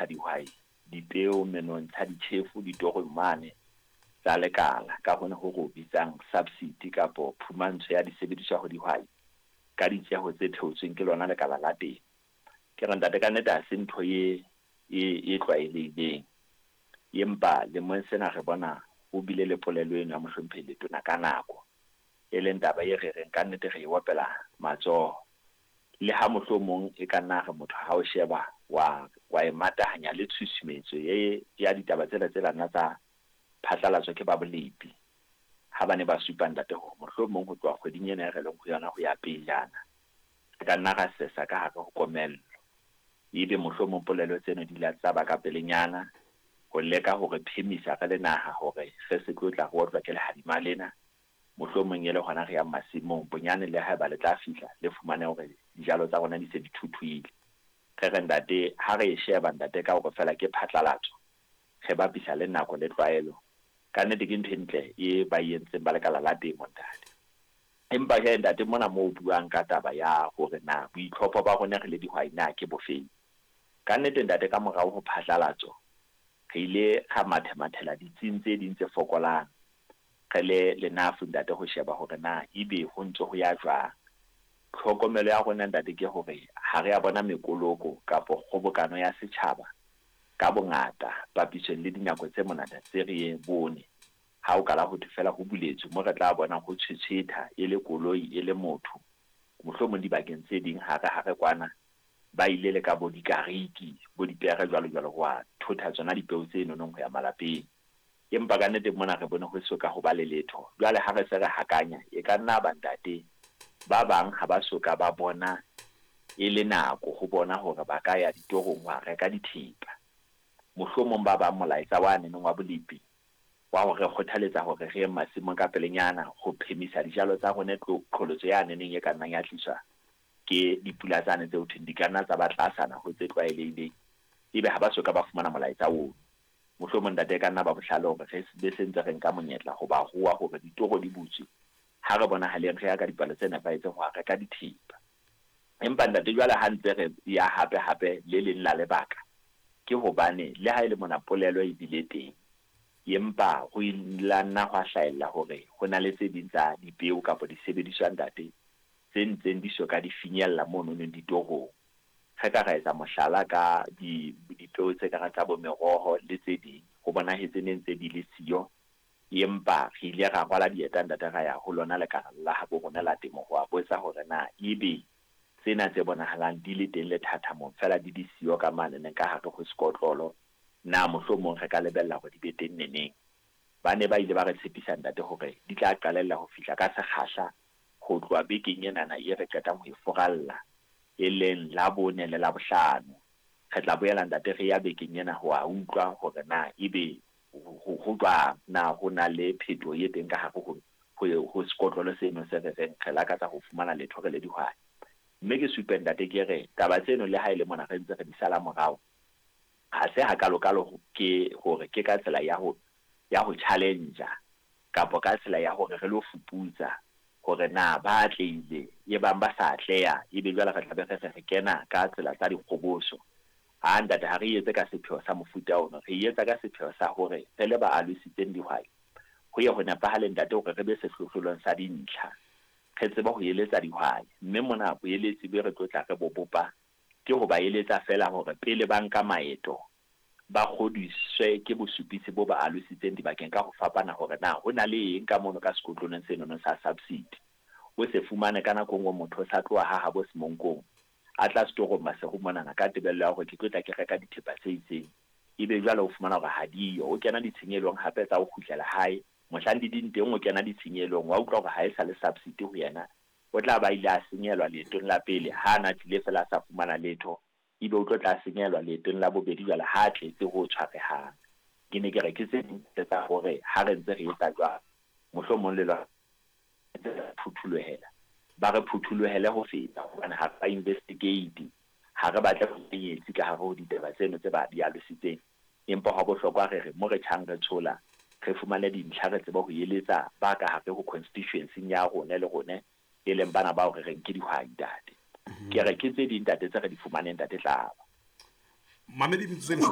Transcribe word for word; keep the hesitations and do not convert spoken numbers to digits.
Dihwai dipeo, menontsha, ditjhefo ditorong mane tsa lekala ka hona ho re o bitsang subsidy kapo phumantsho ya disebediswa ho dihwai ka ditjeho tse theotsweng ke lona lekala la temo. Ke re ntate, ka nnete ha se ntho e e e tlwaelehileng, empa lemong sena re bona ho bile le polelo eno ya mohlomphehi Letona ka nako, e leng taba e re reng ka nnete re e opela matsoho. Le ha mohlomong e ka nna re motho ha o sheba wa wa e matahanya le tshusumetso e ya ditaba tsena tse nna tsa phatlalatswa ke ba bolepi ha ba ne ba supa ntate hore mohlomong ho tloha kgweding ena e re leng ho yona ho ya pejana re ka nna ra sesa ka hare ho komello. Ebe mohlomong polelo tseno di la tsa ba ka pelenyana ho leka hore phemisa re le naha hore re se tlo tla re otlwa ke lehadima lena, mohlomong e le hona re yang masimong bonyane le haeba le tla fihla le fumane hore dijalo tsa rona di se di thuthuhile. Re re ntate, ha re e sheba ntate ka hore feela ke phatlalatso, re bapisa le nako le tlwaelo, ka nnete ke ntho e ntle e ba e entseng ba lekala la temo ntate. Empa he ntate, mona moo o buang ka taba ya hore na boitlhopho ba rona re le dihwai na ke bofeng, ka nnete ntate, ka morao ho phatlalatso re ile ra mathemathela ditsing tse ding tse fokolang re le lenafu ntate ho sheba hore na ebe ho ntse ho ya jwang. Tlhokomelo ya rona ntate ke hore ha re a bona mekoloko kapo kgobokano ya setjhaba ka bongata papisong le dinako tse monate tse re bone ha o kala ho thwe fela ho buletswe mo re tla bona ho tshwetshwetha e le koloi e le motho. Mohlomong dibakeng tse ding hare hare kwana ba ile le ka bo dikariki bo dipere jwalo jwalo ho wa thotha tsona dipeo tse nonong ho ya malapeng. Empa ka nnete mona re bone ho soka ho ba le letho. Jwale ha re se re hakanya, e ka nna ba ntate ba bang ha ba soka ba bona e le nako ho bona hore ba ka ya ditorong ho reka dithepa. Mohlomong ba bang molaetsa wa neneng wa bolepi wa hore kgothaletsa hore re ye masimong ka pelenyana ho phemisa dijalo tsa rona qholotso ya neneng e ka nnang ya tliswa ke dipula tsane tse ho thweng di ka nna tsa ba tlasana ho tse tlwaelehileng, ebe ha ba soka ba fumana molaetsa ono. Mohlomong ntate e ka nna ba bohlale hore re be se ntse re nka monyetla ho ba rua hore ditoro di butswe, ha re bonahaleng re ya ka dipalo tse nepahetseng ho reka dithepa. Empa ntate jwale ha ntse re ya hape hape le leng la lebaka ke hobane le ha e le mona polelo e bile teng, empa ho la nna hwa hlahella hore ho na le tse ding tsa dipeo kapa disebediswa ntate tse ntseng di soka di finyella mono neng ditorong. Re ka ra etsa mohlala ka di dipeo tse kareng tsa bo meroho le tse ding, ho bonahetse ne ntse di le siyo, empa re ile ra rwala dieta ntate ra ya ho lona lekala la habo rona la temo ho a botsa hore na ebe tsena tse bonahalang di le teng lethathamong fela di di siyo ka mane neng ka hare ho sekotlolo, na mohlomong re ka lebella hore di be teng neneng. Ba ne ba ile ba re tshepisa ntate hore di tla qalella ho fihla ka sekgahla ho tloha bekeng enana e re qetang ho e furalla, e leng Labone le Labohlano. Re tla boela ntate re ya bekeng ena ho a utlwa hore na ebe ho jwang, na ho na le phetoho e teng ka hare ho ho sekotlolo seno se re reng re lakatsa ho fumana letho re le dihwai. Mme ke supe ntate ke re taba tseno le ha e le mona re ntse re di sala morao, ha se hakalokalo ke hore ke ka tsela ya ho ya ho challenge kapa ka tsela ya hore re lo fuputsa hore na ba atlehile e bang ba sa atleha, ebe jwale re tla be re re kena ka tsela tsa dikgoboso. Ha ntate ha re etse ka sepheo sa mofuta ono, re etsa ka sepheo sa hore re le ba alositseng dihwai ho ye ho nepahale ntate hore re be sehlohlolong sa dintlha, re tsebe ho eletsa dihwai. Mme mona boeletsi be re tlo tla re bo bopa ke ho ba eletsa fela hore pele ba nka maeto ba kgodiswe ke bosupisi bo ba alositseng dibakeng ka ho fapana hore na ho na le eng ka mono ka sekotlolong senono sa subsidy. O se fumane ka nako nngwe motho o sa tloha ha habo Semonkong a tla setorong Maseru monana ka tebello ya hore ke tlo tla ke reka dithepa tse itseng, ebe jwale o fumana hore ha diyo, o kena ditshenyelong hape tsa ho kgutlela hae. Mohlang di ding teng o kena ditshenyelong, wa utlwa hore ha e sa le subsidy ho yena, o tla ba ile a senyelwa leetong la pele ha ana tlile fela a sa fumana letho, ebe o tlo tla senyelwa leetong la bobedi jwale ha tletse ho tshwarehang. Ke ne ke re ke tse ding tsa hore ha re ntse re etsa jwalo, mohlomong le lona phuthulohela, ba re phuthulohele ho feta, hobane ha ba investigate, ha re batle ho kenyetsi ka hare ho ditaba tseno tse ba di alositseng. Empa hwa bohlokwa re re mo re tjhang re tshola, re fumane dintlha, re tsebe ho eletsa ba ka hare ho constituency ya rona le rone e leng bana bao re reng ke dihwai ntate. Ke re ke tse ding ntate tse re di fumaneng ntate Tlaba. Mamedi metsotso e